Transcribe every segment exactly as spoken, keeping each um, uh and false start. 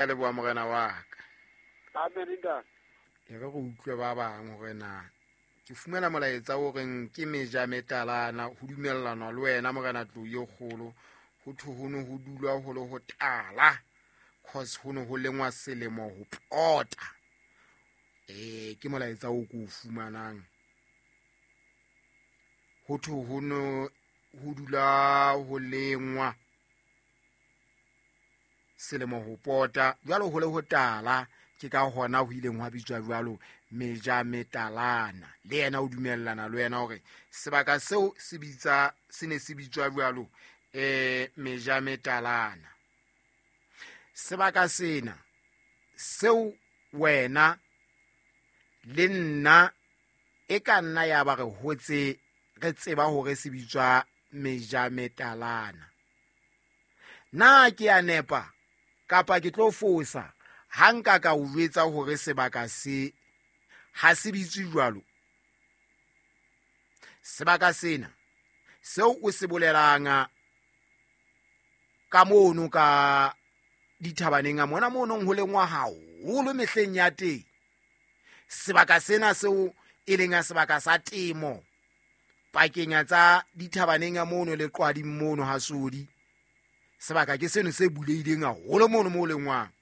A leboha morena wa ka. Amen ntate. E re re utlwe ba bang hore na ke fumana molaetsa o reng ke meja metalana ho dumellana le wena morena tlou e kgolo ho thwe ho ne ho dulwa ho le ho tala cause ho ne ho lengwa selemo ho pota. Eh ke molaetsa o ko o fumanang. Ho thwe ho ne ho dula ho lengwa selemo ho pota jwalo ho le ho tala ke ka hona ho ileng hwa bitswa jwalo meja metalana. Le yena o dumellana le wena hore sebaka seo se bitsa se ne se bitswa jwalo eh meja metalana. Sebaka sena seo wena le nna e ka nna ya ba re hotse re tseba hore se bitswa meja metalana. Na ke a nepa kapa ke tlo fosa ha nka ka o jwetsa hore sebaka se ha se bitswe jwalo? Sebaka sena seo o se bolelang ka mono ka dithabaneng a mona mono ho lengwa haholo mehleng ya teng. Sebaka sena seo e leng a sebaka sa temo pakeng tsa dithabaneng a mono le qwading mono ha Sodi. Sebaka ke seno se buleileng haholo mono mo lengwang.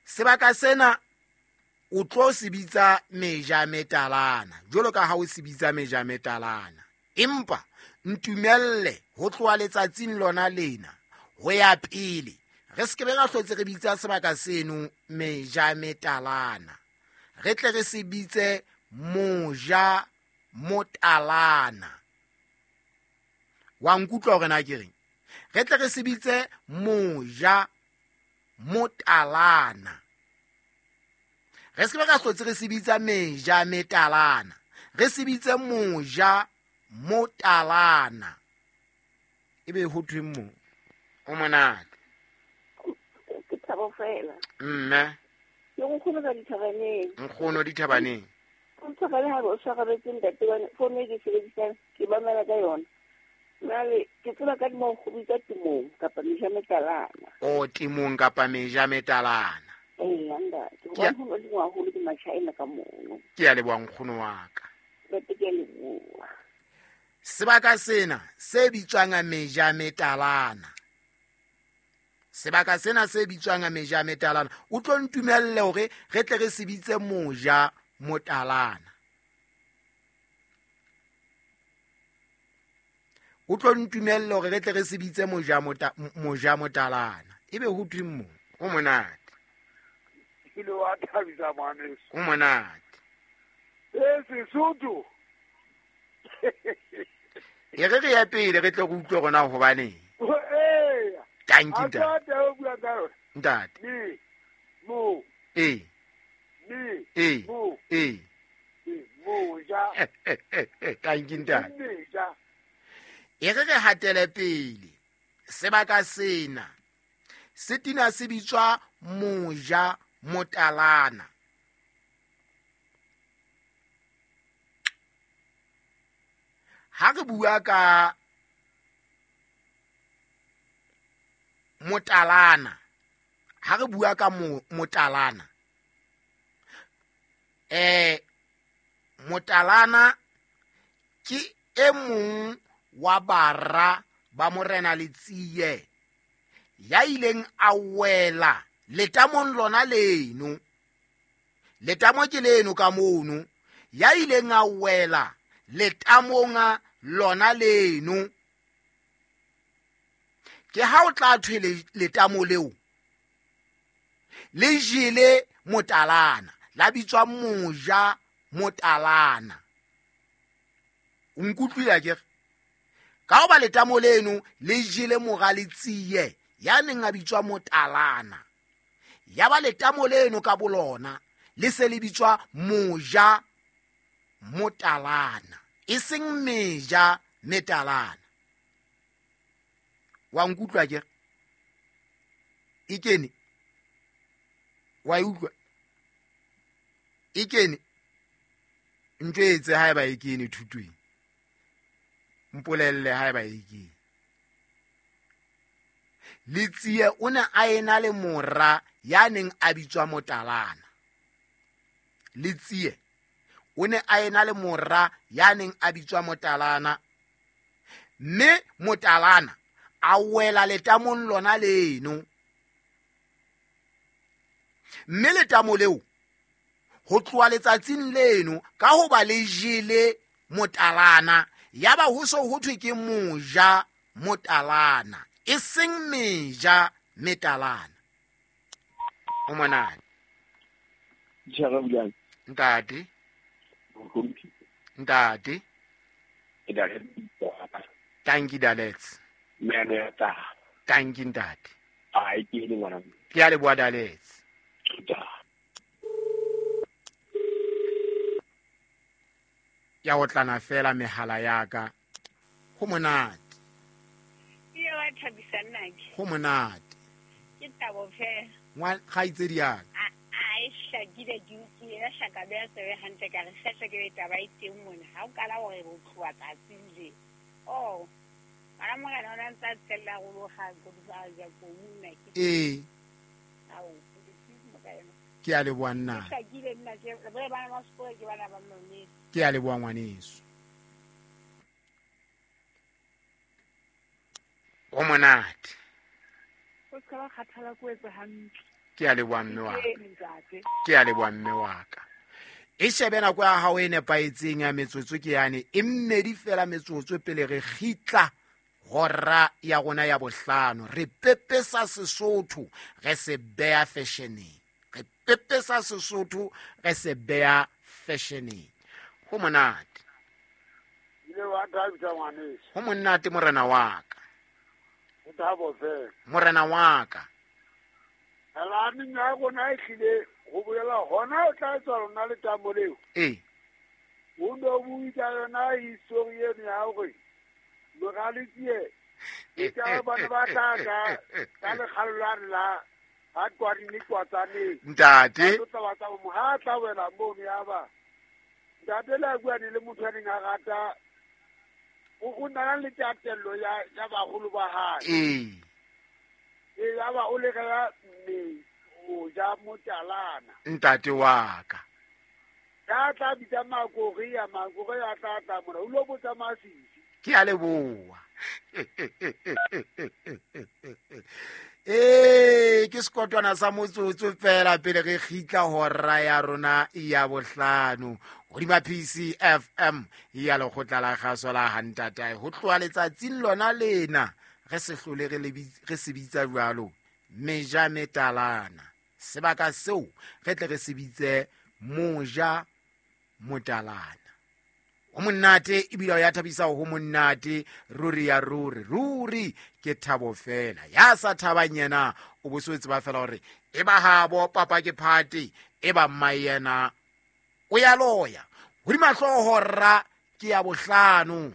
Sebaka sena o tlo se bitsa meja metalana jwalo ka ha o se bitsa meja metalana, empa ntumelle ho tloha letsatsing lona lena ho ya pele re se ke be ra hlotse re bitsa sebaka seno meja metalana, re tle re se bitse moja motalana. Wa nkutlwa hore na ke reng? Re tle re se bitse moja motalana. Re se ke be ra hlotse re se bitsa meja metalana, re se bitse moja motalana. Ebe ho thweng moo? O monate. Ke thabo fela. Mme. Ke nkgono ka dithabaneng. Nkgono dithabaneng. Nthabane ha o tshwarabetse ntate wa fono e ke sebedisang ke mamela ka yona. Jwale ke tseba ka mo go bitsa temong kapa meja metalana. O temong kapa meja metalana. Ee, ntate. Hobane ho lengwa haholo ke Machina ka mono. Ke a leboha nkgono wa ka. Ntate ke a leboha. Sebaka sena se bitswang meja metalana. Sebaka sena se bitswang meja metalana. O tlo ntumelle hore re tle re se bitse moja motalana. O tlo ntumelle hore re tle re se bitse moja mota moja motalana. Ebe ho thweng mo? O monate. Ke le wa thabisa ngwaneso. O monate. E Sesotho. E re re ya pele re tle re utlwe rona hobaneng. Ee. Thank you, ntate. Ntate. O bua ka yona. Ntate. Me. Mo. Ee. Me. Ee. Mo. Ee. Moja. Thank you, ntate. Meja. E re re hatele pele. Sebaka sena se tina se bitswa moja motalana. Ha re bua ka motalana, ha re bua ka motalana, eh motalana ke e mong wa bara ba morena Letsie ya ileng a wela letamong lona leno. Letamo ke leno ka mono. Ya ileng a wela letamong lona leno. Ke ha o tla thwe letamo leo le jele motalana, la bitswa moja motalana. O nkutlwile akere? Ka hoba letamo leno le jele mora Letsie ya neng a bitswa motalana, ya ba letamo leno ka bolona le se le bitswa moja motalana, e seng meja metalana. Wa nkutlwa akere? E kene? Wa e utlwa? E kene? Ntjwetse haeba e kene thutong. Mpolelle haeba e kene. Letsie o ne a ena le mora ya neng a bitswa Motalana. Letsie o ne a ena le mora ya neng a bitswa Motalana, mme Motalana a wela letamong lona leno. Mme letamo leo ho tloha letsatsing leno ka hoba le jele Motalana, yaba ho so ho thwe ke moja Motalana, e seng meja metalana. O monate. Tjhara Ntate. Ntate. Tanki Dalets. Tanki ntate. Ai ke le ngwana. Ke a leboha Dalets. Ya otlana fela mehala ya ka. Ho monate. Ke wa thabisa nna ke. Ho monate. Ke tabo fela. Ngwa kgaitsedi ya ka. A e hlakile ke utlwile ya hlaka beya tsebe hantle ka re hlahla ke taba e teng mona. Ha o kala hore o tloha tsatsing le. Oh. Mara morena o ntse a tsella go loga go ba ja go nna ke. Eh. Ao, ke yona. Ke a leboha nna. Ke hlakile nna ke ba bana ba sekolo ke bana ba mmele. Ke a leboha ngwaneso. O monate. O ska ba kgathala ko etsa hantle. Ke a leboha mme wa ka. Ke a leboha mme wa ka. E shebe nako ya hao e nepahetseng ya metsotso ke yane e mmedi fela metsotso pele re kgitla hora ya rona ya bohlano. Re pepesa Sesotho re se beha fashioneng. Re pepesa Sesotho re se beha fashioneng. Ho monate. Ile wa thabisa ngwaneso. Ho monate morena wa ka. O thabo fela. Morena wa ka. Alane ya rona e hlile ho bolela hona o tla tswa lona letamo leo. Eh. O no bua ka yona history eno ya hore Moralitsie e ka bana ba tla ka ka lekgalo la la ha kwadini kwatsaneng. Ntate. O tla batla mo ha tla wela mono ya ba. Ntate la bua ne le motho a neng a rata o na le tatello ya ya baholo ba hae. Eh. E ya ba o le ka mme o ja Motalana. Ntate wa ka. Ya tla bitsa Makore ya Makore ya tla tla mona o lo botsa Masisi. Ke a leboha. Eh ke sekotwana sa motsotso fela pele re kgitla hora ya rona ya bohlano hodima P C F M ya lekgotla la kgaso la Hantatae. Ho tloha letsatsing lona lena re se hlole re re se bitsa jwalo meja metalana. Sebaka seo re tle re se bitse moja Motalana. Ho monate ebile ya thabisa ho monate ruri ya ruri ruri ke thabo fela. Ya sa thabang yena o bo so tseba fela hore e ba habo papa ke party e ba mma yena o ya loya. Hodima hlooho ra ke ya bohlano.